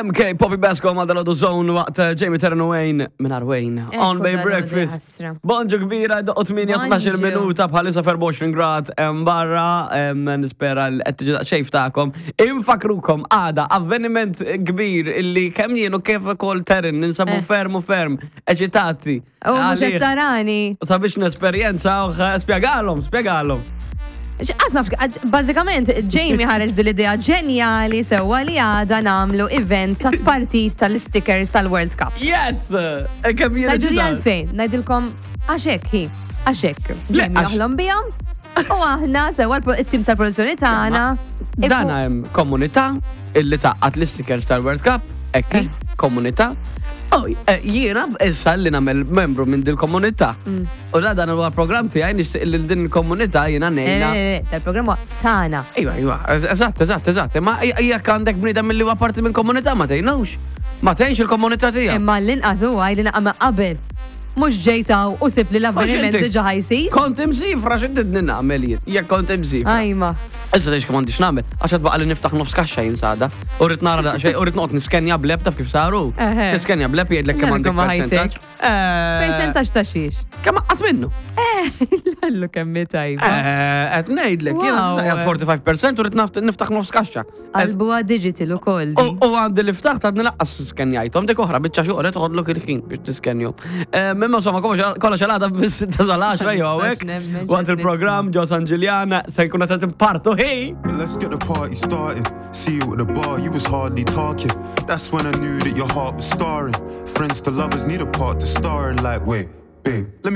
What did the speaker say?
MK Poppy Basco ma dal Zone waqt eh, Jamie Terran Wayne minn Wayne on Bay Breakfast. Bonġu kbira, doqqo 8-12 minuta bħalissa 24 grad barra, nispera l qed tiġi xejf tagħkom. Infakrukom għada avveniment kbir illi kemm jien u kif ukoll Terran ninsabu eh. ferm u ferm eċitati. U mhux qed tarani. U sabiex nesperjenza, spjegalhom, spjegalhom. Għasna, bażikament, Jamie ħareġ din l-idea ġenjali sewwa li għada nagħmlu event ta' tpartit tal-stickers tal-World Cup. Yes! E kemm jien Ngħidu li għalfejn, ngħidilkom għax hekk hi, għax hekk. Jamie joħlom bihom u aħna sewwa it-tim tal-produzzjoni tagħna. Dan hemm komunità illi taqqat l-stickers tal-World Cup, hekk eh. komunità. Oh, eh, jiena issa li nagħmel membru minn dil-komunità. U la dan huwa programm tiegħi nixtieq li din il-komunità jiena ngħinha. Eh, eh, tal-programm huwa tagħna. Iva, iva, eżatt, eżatt, eżatt. Imma jekk għandek bniedem milli huwa parti minn komunità ma tgħinux. Ma tgħinx il-komunità tiegħek. Imma l-inqas huwa li naqama qabel. Mhux ġejtaw u sib li l-avveniment diġà ħajsir. Kont imsifra x'intidni nagħmel jien, jekk kont imsifra. Ajma. Issa tgħix kemm għandix nagħmel, għax qed baqa' li niftaħ nofs kaxxa jien sada. U rrid nara daqsxejn, u rrid noqgħod niskenja bleb taf kif saru. Tiskenja bleb jgħidlek kemm għandek percentaġġ. Eh, Percentaġġ ta' xiex? Kemm qatt minnu? Eh, lallu kemm tajba. Eh, qed ngħidlek, jiena 45% u rrid niftaħ nofs kaxxa. Qalbuha digital ukoll. U għandi li ftaħt għadni laqqas skenjajthom dik oħra biċċa xogħol toħodlok il-ħin biex tiskenjhom. Imma insomma kollox għal għada bis-sitta sal-10 jew hawnhekk. Waqt il-programm ġo San Ġiljan se jkun qed impartu ħi. Let's get the party started. See you at the bar, you was hardly talking. That's when I knew that your heart was scarring. Friends to lovers need a part to star in. Like, wait, babe, let me.